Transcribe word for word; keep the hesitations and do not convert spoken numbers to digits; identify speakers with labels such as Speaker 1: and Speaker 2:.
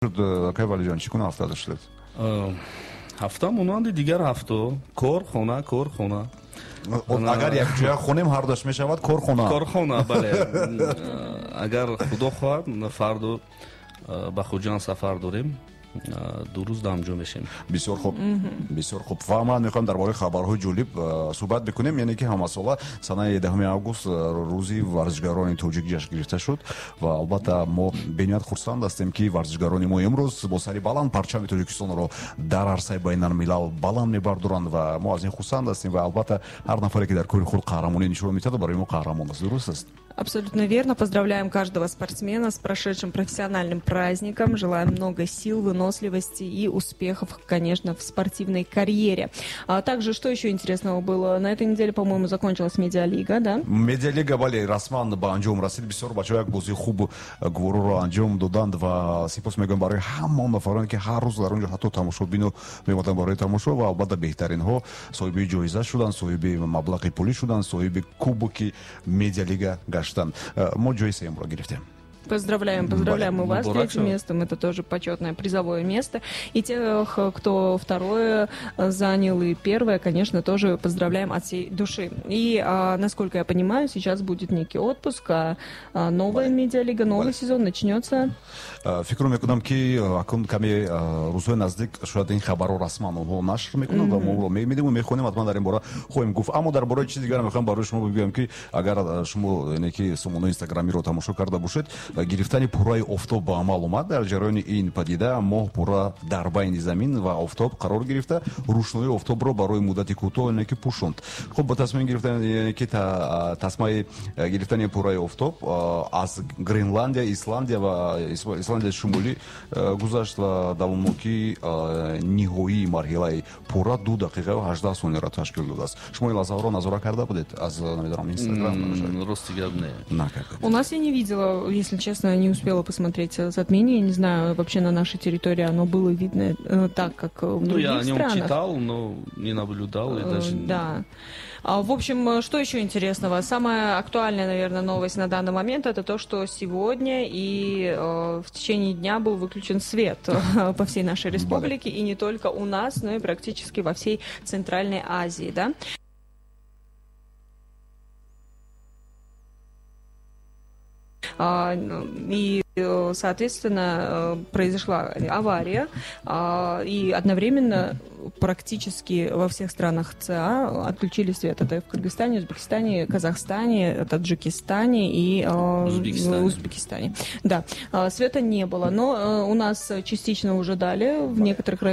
Speaker 1: Шуд, акай Валиҷон, чӣ гуна ҳафта доштед?
Speaker 2: Ҳафта монанди дигар ҳафто: кор, хона, кор, хона.
Speaker 1: Агар якҷоя хонем, ҳардуаш мешавад корхона.
Speaker 2: Корхона, бале. Агар Худо хоҳад, фардо ба Хуҷанд сафар дорем, ду рӯз дамҷӯ мешем.
Speaker 1: Бисёр хуб, бисёр хуб. Ва ман мехоҳам дар бораи хабарҳои ҷолиб суҳбат бикунем, яъне ки ҳамасола санаи даҳуми август рӯзи варзишгарони тоҷик ҷашн гирифта шуд ва албатта мо бениҳоят хурсанд ҳастем, ки варзишгарони мо имрӯз бо сари баланд парчами Тоҷикистонро дар арсаи байналмилал баланд мебардоранд ва мо аз ин хурсанд ҳастем. Ва албатта ҳар нафаре, ки дар кори худ қаҳрамонӣ нишон медиҳад, барои мо қаҳрамон аст. Дуруст аст?
Speaker 3: Абсолютно верно. Поздравляем каждого спортсмена с прошедшим профессиональным праздником. Желаем много сил, выносливости и успехов, конечно, в спортивной карьере. А также, что еще интересного было? На этой неделе, по-моему, закончилась медиалига, да?
Speaker 1: Медиалига, бале, расман ба анҷом расид. Бисёр бачаҳо як бозии хуб гувороро анҷом доданд ва сипос мегӯям барои ҳама он нафароне, ки ҳар рӯз дар он ҷо ҳатто тамошобино меомаданд барои тамошо. Ва албатта беҳтаринҳо соҳиби ҷоиза шуданд, соҳиби маблағи пулӣ шуданд, соҳиби кубоки медиалига гаштанд. Мо ҷои сеюмро гирифтем.
Speaker 3: Поздравляем, поздравляем мы вас с третьим местом. Это тоже почетное призовое место. И тех, кто второе занял и первое, конечно, тоже поздравляем от всей души. И, а, насколько я понимаю, сейчас будет некий отпуск, а новая медиалига, новый сезон начнется.
Speaker 1: Фикр мекунам, ки акун каме рӯзҳои наздик шояд ин хабарро расман онҳо нашр мекунанд ва мо онро мебинем, мехонем, ҳатман дар ин бора хоҳем гуфт. Аммо дар бораи чизи дигар мехоҳам барои шумо бигӯям, ки агар шумо, яъне ки сомонаи инстаграмиро тамошо карда бошед, гирифтани пурраи офтоб ба амал омад. Дар ҷараёни ин падида моҳ пурра дар байни замин ва офтоб қарор гирифта, рӯшноии офтобро барои муддати кӯтоҳ, яъне ки, пӯшонд. Хуб, ба тасмим гирифтан, яъне ки тасмаи гирифтани пурраи офтоб аз Гренландия, Исландия ва Исландияи Шумолӣ гузашт ва давомнокии ниҳоии марҳилаи пурра ду дақиқаю ҳаждаҳ сонияро ташкил додааст. Шумо ин лаҳзаҳоро назора карда будед аз, намедонам, Инстаграм?
Speaker 2: Рости гап, не.
Speaker 1: Накардед?
Speaker 3: У нас я не видела, если честно, не успела посмотреть затмение. Не знаю, вообще на нашей территории оно было видно э, так, как в
Speaker 2: Ну,
Speaker 3: других
Speaker 2: я о нем
Speaker 3: странах.
Speaker 2: Читал, но не наблюдал и даже.
Speaker 3: Да. А, в общем, что еще интересного? Самая актуальная, наверное, новость на данный момент — это то, что сегодня и э, в течение дня был выключен свет по всей нашей республике, и не только у нас, но и практически во всей Центральной Азии, да? А, и, соответственно, произошла авария, а, и одновременно практически во всех странах ЦА отключили свет. Это в Кыргызстане, Узбекистане, Казахстане, Таджикистане и
Speaker 2: Узбекистане.
Speaker 3: Узбекистане. Да, света не было, но у нас частично уже дали в некоторых районах.